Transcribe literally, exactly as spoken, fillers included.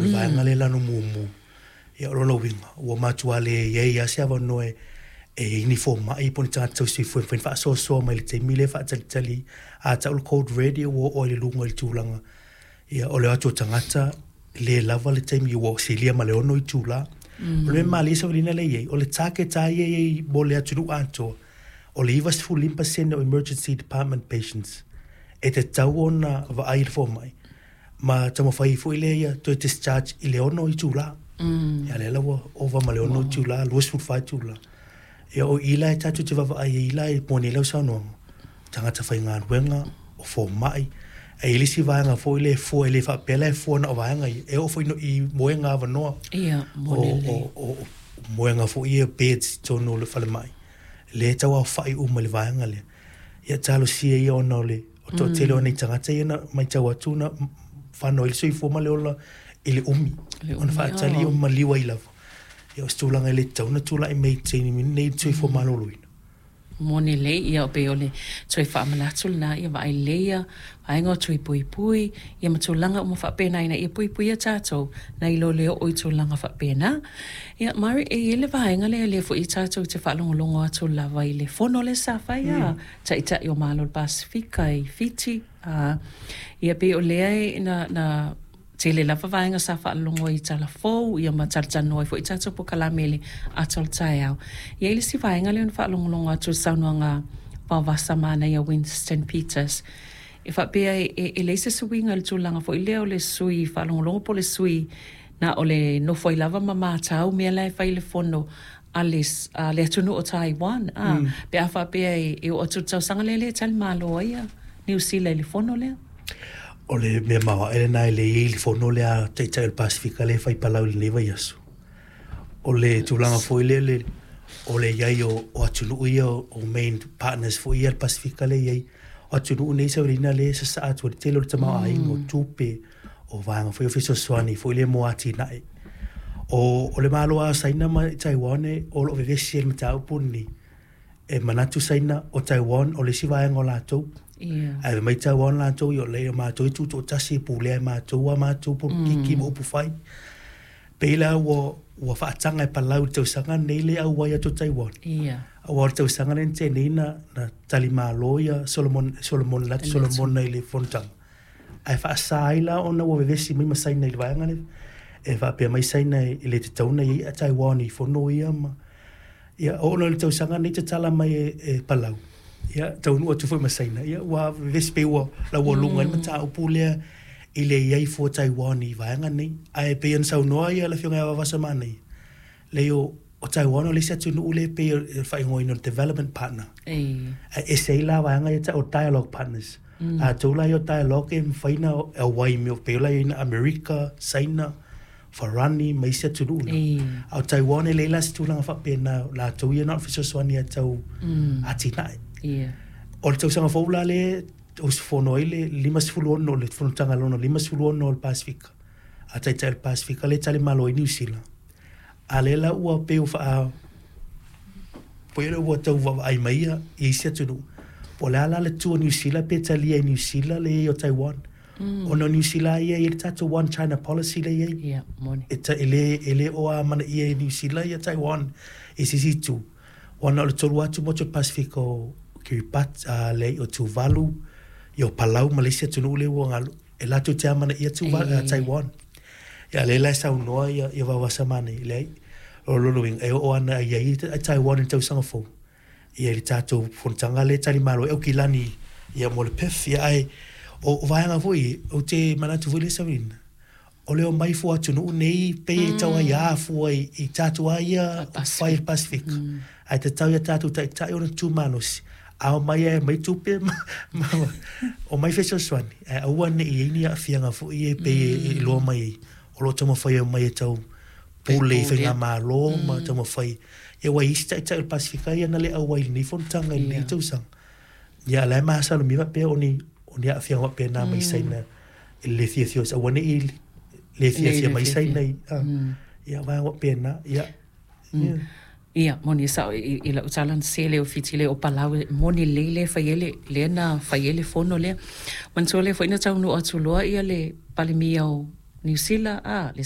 O le vaega lea e lanu mumu. Ia o lona uiga, ua matua leai lava se avanoa e e i ai ni fomai po o ni tagata tausisoifua e mafai ona faasoasoa mai i le taimi lea e faatalitali a tau le code red ua oo ai i luga i le tulaga ia o le o atu o tagata le lava le taimi ua silia ma le ono itula. Mm. O le mea malie Savalina lea e i ai, o le target lava ia e i ai mo le atunuu atoa, o le ninety-five pasene o emergency department patients e tatau ona vaai i le fomai ma taumafai foi lea ia toe discharge i le ono itula. Mm. Ia lea la ua ova ma le ono itula, twenty-four itula. Ia o i la e tatou te vaavaai ai la e moni ai lau saunoaga, tagata faigaluega, o fomai, e i ai le isi vaega foi lea e fua, e le faapea la e fua na o vaega ia, e oo foi i moega avanoa. Ia, moni lelei. O, o, o moega foi ia beds i totonu o le falemai, lea e tauaofai uma i le vaega lea. Ia talosia ia ona o le o toatele o nei tagata ia na matau atu na whanau i le soifua ma le ola i le umi, ona faatali o maliu ai lava. Ia o se tulaga e le tatau ona tulai mai i taimi nei le soifua maloloina. Moni lelei, ia o pei o le toe faamanatu lena, ia vaai lelei ia vaega o tui puipui, ia ma tulaga uma faapena ina ia puipuia tatou nai lo le oo i tulaga faapena. Ia Mari, e i ai le vaega lea lea foi tatou te faalogologo atu lava i le fono lea sa fai a Taitai o Malo o le Pasefika i Fiti. Uh, ia pei o lea e na, na tele lava vaega sa faalologo ai i tala fou, ia ma talatalanoa ai foi tatou polokalame i le ata o le taeao. Ia i le isi vaega lea ona faalogologo atu i le saunoaga vaovasa manaia Winston Peters. E faapea e, e, e leai se suiga i le tulaga foi lea o le sui faalogologo po o le sui na o le nofo ai lava ma matau mea la e fai i le fono a le, a le atunuu o Taiwan. Ah, mm. Pe a faapea e, e oo atu i le tausaga lea lea e tali malo ai ia Niu Sila i le fono lea. O le mea maoae lena e le i ai le fono lea a Taitai o le Pasefika lea e fai Palau i lenei vaiaso. O le tulaga foi lea le, o le i ai o, o atunuu ia o, o main partners foi ia le Pasefika lea e i ai. O atunuu nei Savalina lea e sasaa atu ai le tele o le tamaoaiga, mm. o tupe, o vaega foi o fesoasoani foi lea mo atinae. O, o le Malo lava o Saina ma Taiwan e, o lo o vevesi ai le mataupu lenei. E manatu Saina o Taiwan o le isi vaega o latou. Ia. Ae mai Taiwan latou ia o le matou e tutoatasi e pulea e matou a matou polokiki ma upu fai. Pei la ua, ua faataga e Palau i le tausaga nei le auai atu o Taiwan. Ia. Aua o le tausaga lea na tea nei na, na talimalo ia Solomon, Solomon, Latu Solomon i le fonotaga. Ae faasa ai la ona ua vevesi mai ma Saina i le vaega lea. E faapea mai Saina e le tatau ona i ai a Taiwan i fono ia ma ia oo loa i le tausaga nei tatala mai e, e Palau. Ia taunuu atu foi ma Saina. Ia ua vevesi pei ua laualuga ai le mataupu lea i le i ai fua Taiwan i vaega nei. Ae pei ona saunoa ia le afioga ia Vaovasa Manaia, leai o, o Taiwan o le isi atunuu lea pei o le faaigoaina o le development partner. E. Ae ese ai la vaega ia tau o dialogue partners. Mm. Latou la ia o dialogue e mafai ona auai mea pei o la i ai na Amerika, Saina, Farani ma isi atunuu na. E. A o Taiwan e leai la se tulaga faapena, latou ia na o le fesoasoani ia tau Mm. atinae. Ia. O le tausaga fou la lea usufono ai le fifty-six, le fonotaga lona fifty-six o le Pasefika. A Taitai o le Pasefika le tali malo ai Niu Sila. A lea la ua pei ua faa pei lea ua tau vaavaai mai ia i isi atunuu. Po o le a la le tu o Niu Sila pe talia i Niu Sila le i ai o Taiwan. Mm. Ona o Niu Sila ia i le tatou One China policy le i ai. Ia, moni. E, ta, e le, e le o a manaia e Niu Sila ia Taiwan i se isi itu. Ona o le tolu atu motu o le Pasefika o Kiribati, uh, le o Tuvalu, ia o Palau ma le isi atunuu lea ua galu. E latou te amanaia Tuvalu, E. uh, Taiwan. Ia lea la e saunoa ia, ia Vaovasa Manaia, leai. O lona uiga, e oo ana i ai a Taiwan i le tausaga fou. Ia i le tatou fonotaga lea e talimalo ai Aukilani ia mo le P I F. Ia ae o, o vaega foi, ou te manatu foi lea Savalina, o le omai fua atunuu nei pei e tau ai a fua i, i tatou a ia fai i le Pasefika. Mm. Ae tatau ia tatou taitai ona tumalosi. A omai e mai tupe ma, ma, o mai fesoasoani. Ae aua ne i ai ni aafiaga foi e pei e, e iloa mai ai. O lo o taumafai e omai e tau pule i faigamalo ma taumafai. Ia ua i isi taitai o le Pasefika ia na le auai i lenei fonotaga i lenei Ia. tausaga. Ia la e masalomia faapea o ni, o ni aafiaga faapena mai Saina i le fiafia o aua ne i le fiafia mai Saina i. ah, Ia vaega faapena. Ia. Ia. Ia, moni sao i, i lau tala na sele o Fiti le o Palau, e moni lelei le fai ai le, lea na fai ai le fono lea. Manatua lea foi na taunuu atu loa ia le Palemia o Niu Sila, ah, le